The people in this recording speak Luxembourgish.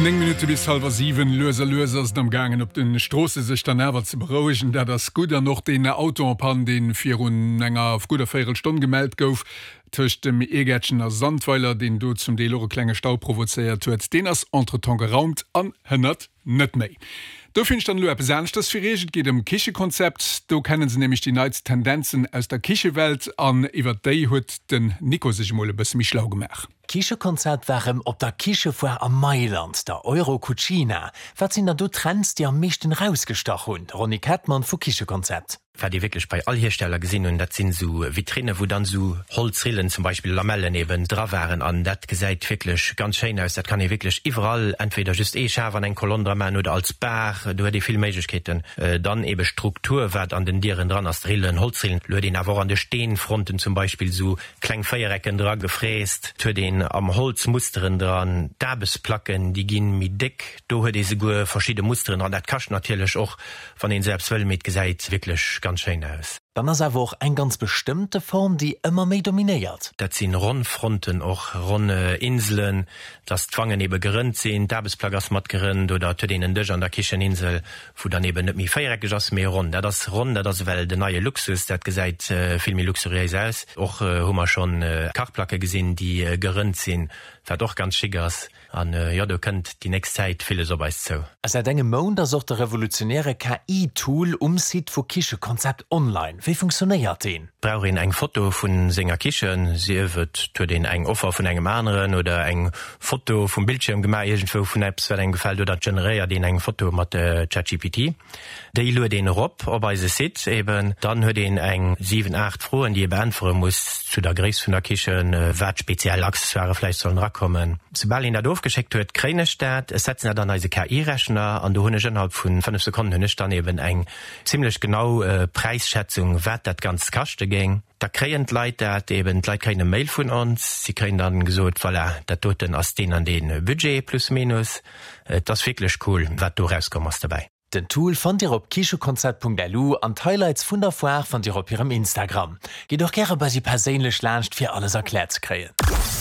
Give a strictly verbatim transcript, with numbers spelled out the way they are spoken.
Néng Minutte bis hallwer siwen. Lues a lues ass et am gaangen op de Stroosse sech dann awer ze berouegen. Dat ass gutt. An och deen Auto en panne, dee virun enger gudder Véierelstonn gemellt gouf, tëscht dem Egertchen a Sandweiler, deen do zum Deel och e klenge Stau provozéiert huet, deen ass entretemps geraumt an hënnert net méi. Do fannen ech dann elo eppes aneschters fir iech. Et geet ëm Kichekonzept. Do kennen se nämlech déi neitst Tendenzen aus der Kichewelt an iwwer déi huet den Nico sech mol e bësse méi schlau gemaach. Kichekonzept war erëm op der Kichefoire a Mailand, der Eurocucina. Wat sinn dann do Trends, déi am meeschten rausgestach hunn? Ronny Kettmann vu Kichekonzept. Wat ee wierklech bei all Hiersteller gesinn hunn, dat sinn esou Vitrine, wou dann esou Holzrillen, zum Beispill Lamellen eben, dra waren an dat gesäit wierklech ganz schéin aus. Dat kann ee wierklech iwwerall entweder just ee Schaf an eng Kolonn dra maachen oder als Bar, do huet ee vill Méiglechkeeten. Dann ebe Struktur, wat an den Dieren dran ass, Rillen, Holzrillen. Lo huet een awer och an de Steenfronten zum Beispill esou kleng Véierecken dra gefräst. Et huet een am Holz Musteren dran. D'Aarbechtsplacken, déi gi méi déck, do huet ee souguer verschidde Musteren dran. Dat kascht natierlech och, wann een esou eppes wëll, mee et gesäit wierklech ganz schéin aus. Dann ass awer och eng ganz bestëmmte Form, déi ëmmer méi dominéiert. Dat sinn ronn Fronten, och ronn Inselen, dass d'Wangen ebe gerënnt sinn, d'Aarbechtsplack ass mat gerënnt oder et huet een en Dësch an der Kicheninsel, wou dann eben net méi véiereckeg ass, mee ronn. Dat ass ronn, dat ass ewell den neie Luxus, dat gesäit vill méi luxuriéis aus. Och hu mer schonn Kachplacke gesinn, déi gerënnt sinn, wat och ganz chic ass. An jo, do kënnt déi nächst Zäit villes op eis zou. A säit engem Mount ass och de revolutionäre K I-Tool um Site vu Kichekonzept online. Wéi funktionéiert deen? Brauch een eng Foto vu senger Kichen, sief et huet een eng Offer vun engem aneren oder eng Foto vum Bildschierm gemaach iergendwou vun eppes wat engem gefält oder et generéiert een eng Foto mat ChatGPT. Déi luet een erop op eise Site eben. Dann huet een eng siwen, aacht Froen, déi ee beäntwere muss zu der Gréisst vun der Kichen, wat speziell Accessoiren vläicht sollen erakommen. Soubal een dat ofgeschéckt huet, kréien ech dat, ech setzen dat an eise K I-Rechner an do hunn ech ënnerhalb vu fënnef Sekonnen hunn ech dann eben eng zimlech genau Präisschätzung, wat dat Ganzt kaschte géing. Da kréien d'Leit dat eben, d'Leit kréien e Mail vun ons, si kréien dann gesot, voilà, dat doten ass deen an dee Budget plus minus. Et ass wierklech cool, wat do erauskomm ass dobäi. Den Tool fannt Dir op kichekonzept Punkt L U an d'Highlights vun der Foire fannt Dir op hirem Instagram. Gitt och gäre bei si perséinlech laanscht fir alles erkläert ze kréien.